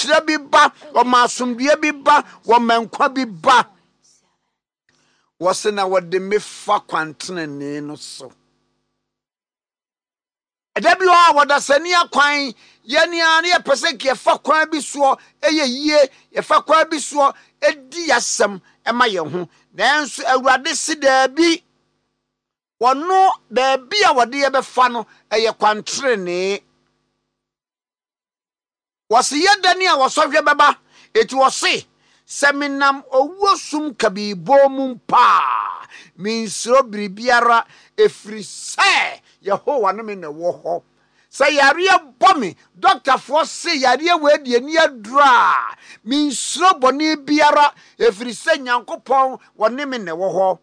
nhyira bi ba, wɔma asomdwoeɛ bi ba, wɔma nkwa bi ba. Wɔse na wɔde me fa kwantenenee no so. Ɛda bi hɔ a wɔdasani akwan yɛn ara na yɛpɛ sɛ nka yɛfa kwan bi soɔ yɛ yie, yɛfa kwan bi soɔ di yɛasɛm ma yɛn ho. Nanso Awurade se daabi, wɔno baabi a wɔde yɛbɛfa no ɛyɛ kwantenenee. Wɔse yɛ dɛn a wɔsɔhwɛ bɛba? Enti wɔse, Sɛ menam owuo sum kabii bɔn mu mpo a, mensuro biribiara, ɛfiri sɛ Yehowa ne me na ɛwɔ hɔ. Sɛ yareɛ bɔ me, dɔktafoɔ se yareɛ wei deɛ ɛnni aduro a, mensuro bɔne biara, ɛfiri sɛ Nyankopɔn ɔne me na ɛwɔ hɔ.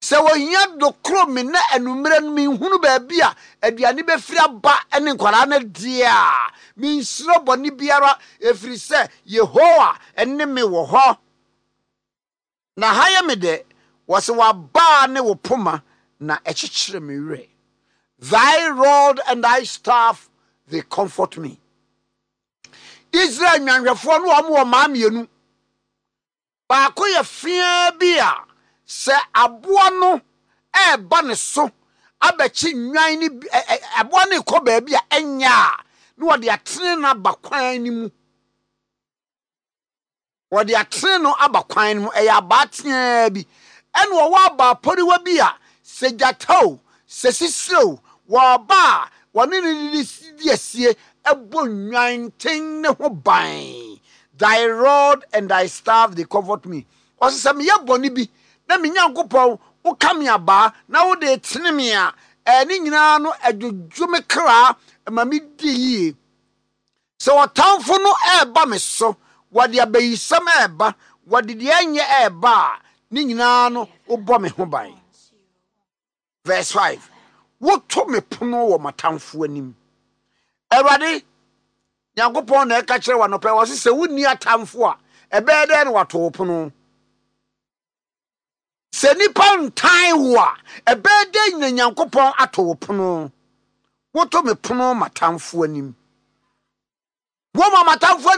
Sɛ ohia dokoro me na anwummerɛ no menhunu baabi a aduane bɛfiri aba ne nkwadaa no deɛ a, mensuro bɔne biara, ɛfiri sɛ Yehowa ne me wɔ hɔ. Na ha yɛ me dɛ, wɔse w'abaa ne wo poma na ɛkyekyere me werɛ. Thy rod and thy staff, they comfort me. Israel nnwanhwɛfoɔ no wɔn wɔ mmaa mmienu. Baako yɛ feaa bi a sɛ aboa no reba ne so abɛkye nnwan no bi, ɛ, ɛ, aboa no rekɔ baabi a ɛnyɛ a, na wɔde atene no aba kwan no mu. Wɔde atene no aba kwan no mu. Ɛyɛ abaa teaa bi. Ɛna wɔwɔ abaa poriwa bi a sɛ gyata o, sɛ sisire o, wɔba a wɔne no di asie bɔ nnwanten no ho ban. Thy rod and thy staff, they comfort me. Ɔse sɛ meyɛ bɔne bi na me Nyankopɔn woka me abaa na wode retene me a, ɛɛ ne nyinaa no ɛdwodwo me kra ma me di yie. Sɛ ɔtamfo no ɛreba me so, wɔde abayisɛm ɛreba, wɔde deɛ ɛnyɛ ɛreba a, ne nyinaa no wobɔ me ho ban. Verse 5, Woto me pono wɔ m'atamfo anim. Awurade Nyankopɔn na ɛka kyerɛ w'anɔpɛ, wɔse sɛ wonni atamfo a, ɛbɛyɛ dɛn na wato wo pono? Sɛ nnipa ntan wo a, ɛbɛyɛ dɛn na Nyankopɔn ato wo pono? Woto me pono m'atamfo anim. Woma m'atamfo